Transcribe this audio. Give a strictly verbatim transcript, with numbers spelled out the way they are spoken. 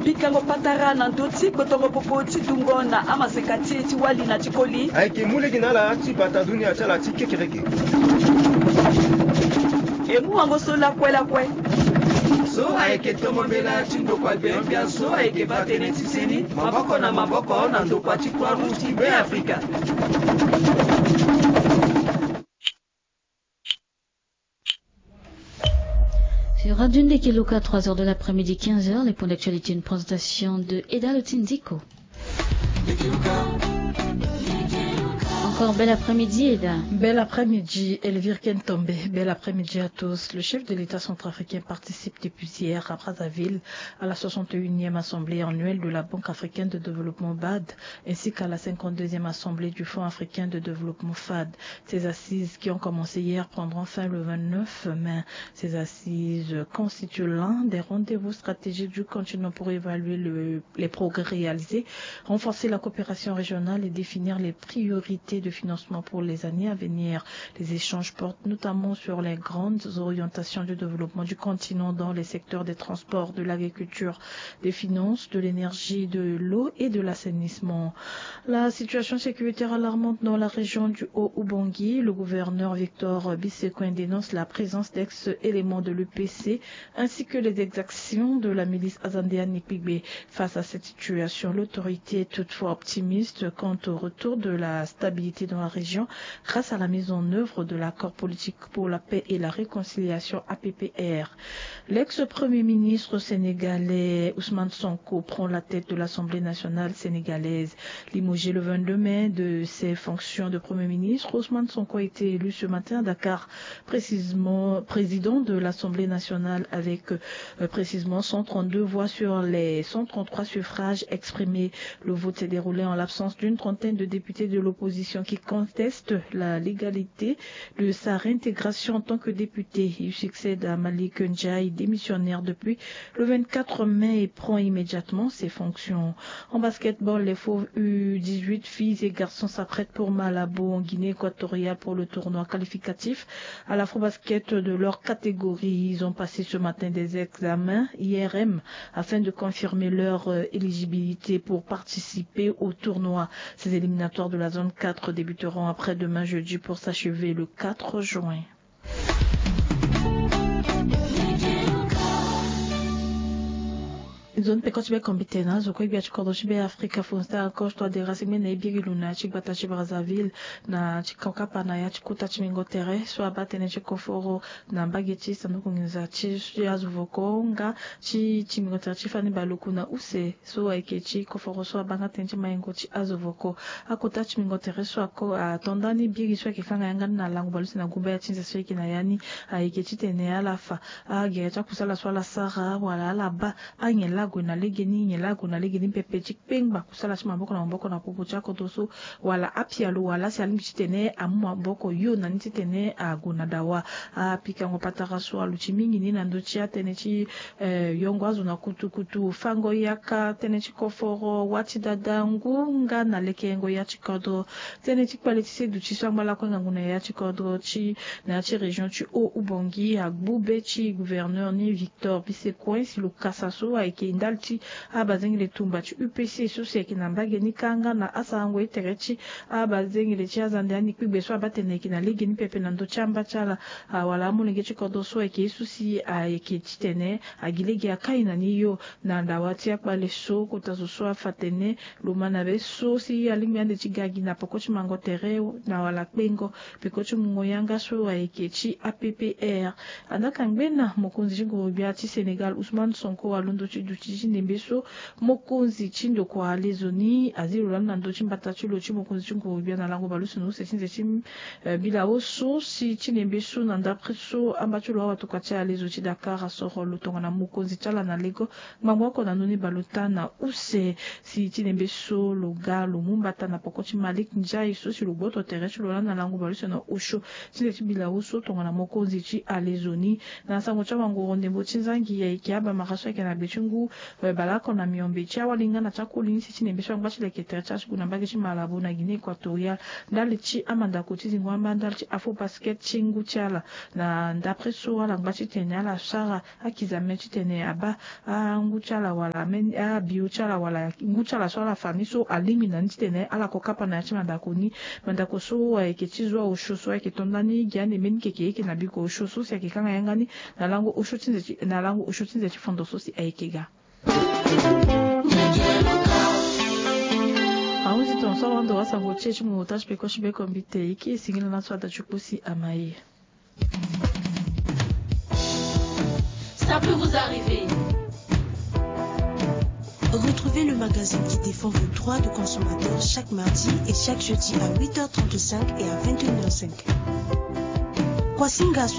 Pikango patara na ndö ti gbotongo popo ti dungo na amaseka ti e ti wali na ti koli. Ayeke mu lege na ala ti bata dunia ti ala ti kekereke. E mu wango so lakue lakue. So ayeke tomo mbela ti ndokua gbia gbia so ayeke baa tënë ti seni maboko na maboko na ndokua ti Croix Rouge ti Beafrika. Sur Radio Ndeke Luka, trois heures de l'après-midi, quinze heures, les points d'actualité, une présentation de Eda Lotindiko. Encore bel après-midi, Eda. Bel après-midi, Elvire Kentombe. Bel après-midi à tous. Le chef de l'État centrafricain participe depuis hier à Brazzaville à la soixante et unième assemblée annuelle de la Banque africaine de développement, bad, ainsi qu'à la cinquante-deuxième assemblée du Fonds africain de développement, fad. Ces assises qui ont commencé hier prendront fin le vingt-neuf mai. Ces assises constituent l'un des rendez-vous stratégiques du continent pour évaluer le- les progrès réalisés, renforcer la coopération régionale et définir les priorités de financement pour les années à venir. Les échanges portent notamment sur les grandes orientations du développement du continent dans les secteurs des transports, de l'agriculture, des finances, de l'énergie, de l'eau et de l'assainissement. La situation sécuritaire alarmante dans la région du Haut-Oubangui, le gouverneur Victor Bisekoin dénonce la présence d'ex-éléments de l'U P C ainsi que les exactions de la milice Azande Anipigbe. Face à cette situation, l'autorité est toutefois optimiste quant au retour de la stabilité dans la région grâce à la mise en œuvre de l'accord politique pour la paix et la réconciliation, A P P R. L'ex-premier ministre sénégalais Ousmane Sonko prend la tête de l'Assemblée nationale sénégalaise. Limogé le vingt-deux mai de ses fonctions de premier ministre, Ousmane Sonko a été élu ce matin à Dakar, précisément président de l'Assemblée nationale avec, euh, précisément cent trente-deux voix sur les cent trente-trois suffrages exprimés. Le vote s'est déroulé en l'absence d'une trentaine de députés de l'opposition qui contestent la légalité de sa réintégration en tant que député. Il succède à Malick Ndiaye, démissionnaire depuis le vingt-quatre mai, et prend immédiatement ses fonctions. En basketball, les Fauves U dix-huit, filles et garçons, s'apprêtent pour Malabo, en Guinée équatoriale, pour le tournoi qualificatif à l'Afrobasket de leur catégorie. Ils ont passé ce matin des examens I R M afin de confirmer leur, euh, éligibilité pour participer au tournoi. Ces éliminatoires de la zone quatre débuteront après-demain jeudi pour s'achever le quatre juin. Nzoni peko ti be kombite na azo kue gbia ti kodro ti be Afrika, Faustin Archange Touadéra, si ngbene e biri lo na ya ti gbata ti Brazzaville na ti kokapa na ya ti kota ti mingo tere so abaa tënë ti koforo na mbage ti sanduku nginza ti azo voko nga ti ti mingo tere ti fani baloku na use so ayeke ti koforo so abaa nga tënë ti maingo ti azo voko. Akota ti mingo tere so ako ato ndani biri so ayeke fanga yanga ni na lango baleuse na gumba ya ti nze so ayeke na ya ni ayeke titene ala fa agere ti akusala so ala sara wala ala baa anyen laa ague na legeni nyen laa ague na legeni pepe ti kpengba kusala ti maboko na maboko na popo ti akodro so wala apialo wala si alingbi titene amu maboko yo na ni titene ague na dawa. Apikango patara so aluti mingi ni na ndö ti atënë ti, eh, yongo azo na kutukutu, fango yaka, tënë ti koforo, wâ ti dada, ngu nga na lekerengo ya ti kodro. Tënë ti kpale ti se duti so angba lakue ngangu na ya ti kodro ti na ya ti région ti Haut-Oubangui agbu be ti gouverneur ni Victor Bisekoin si lo kasa so ayeke ndali ti abazengele tumba ti U P C so si ayeke na mbage ni kâ nga na asarango ye tere ti abazengele ti azande ani kpigbe so abaa tene ayeke na legeni pepe na ndö ti amba ti ala. Awala amolenge ti kodro so ayeke ye so si ayeke titene agi lege akai na ni yo. Na dawa ti akpale so kota zo so afa tene lo ma na be so si alingbi ande ti ga gi na peko ti mango tere na wala kpengo peko ti mungo yanga so ayeke ti A P P R. Andaa ka ngbena mokonzi ti nguru-gbia ti Sénégal Ousmane Sonko alondo ti duti ti ndembe so mokonzi ti ndokua alezo ni azi lo lani na ndö ti mbata ti lo ti mokonzi ti nguru-gbia na lango baleuse na use ti nze ti, eh, bilao so si ti ndembe so na ndapre so amba ti lo awatokua ti alezo ti Dakar asoro lo tongana mokonzi ti ala na lego. Ngbangbo oko na ndoni baleota na use si ti ndembe so lo ga lo mu mbata na poko ti Malick Ndiaye so si lo gboto tere ti lo lani na lango baleuse na osio ti nze ti bilao so tongana mokonzi ti alezo ni. Na sango ti awangoro ndembo ti nzangi ayeke abamara so ayeke na gbe ti ngu Baleoko na miombe ti awali nga na ti akoli ni si ti nembe so angba ti leke tere ti asuku na mbage ti Malabo na Guinée Equatoriale, ndali ti amandako ti zingo amba ndali ti Afrobasket ti ngu ti ala. Na ndapre so ala ngba titene ala sara akizame titene abaa angu ti ala wala abio ti ala wala ngu ti ala so ala fa ni so alingbi na ni titene ala ko kapa na ya ti mandako ni. Mandako so ayeke ti zo aosio so ayeke to ndani gi ande mbeni keke eke na biko osio so si ayeke kanga yanga ni na lango osio ti nze ti fondo so si ayeke ga. Ahunzi tonso awando wasango ti e ti mo ota ti peko ti beko mbi te iki esingila na so ada ti kpo si ama ye. Ça peut vous arriver. Retrouvez le magazine qui défend vos droits de consommateur chaque mardi et chaque jeudi à huit heures trente-cinq et à vingt et une heures cinq. Kwasinga soit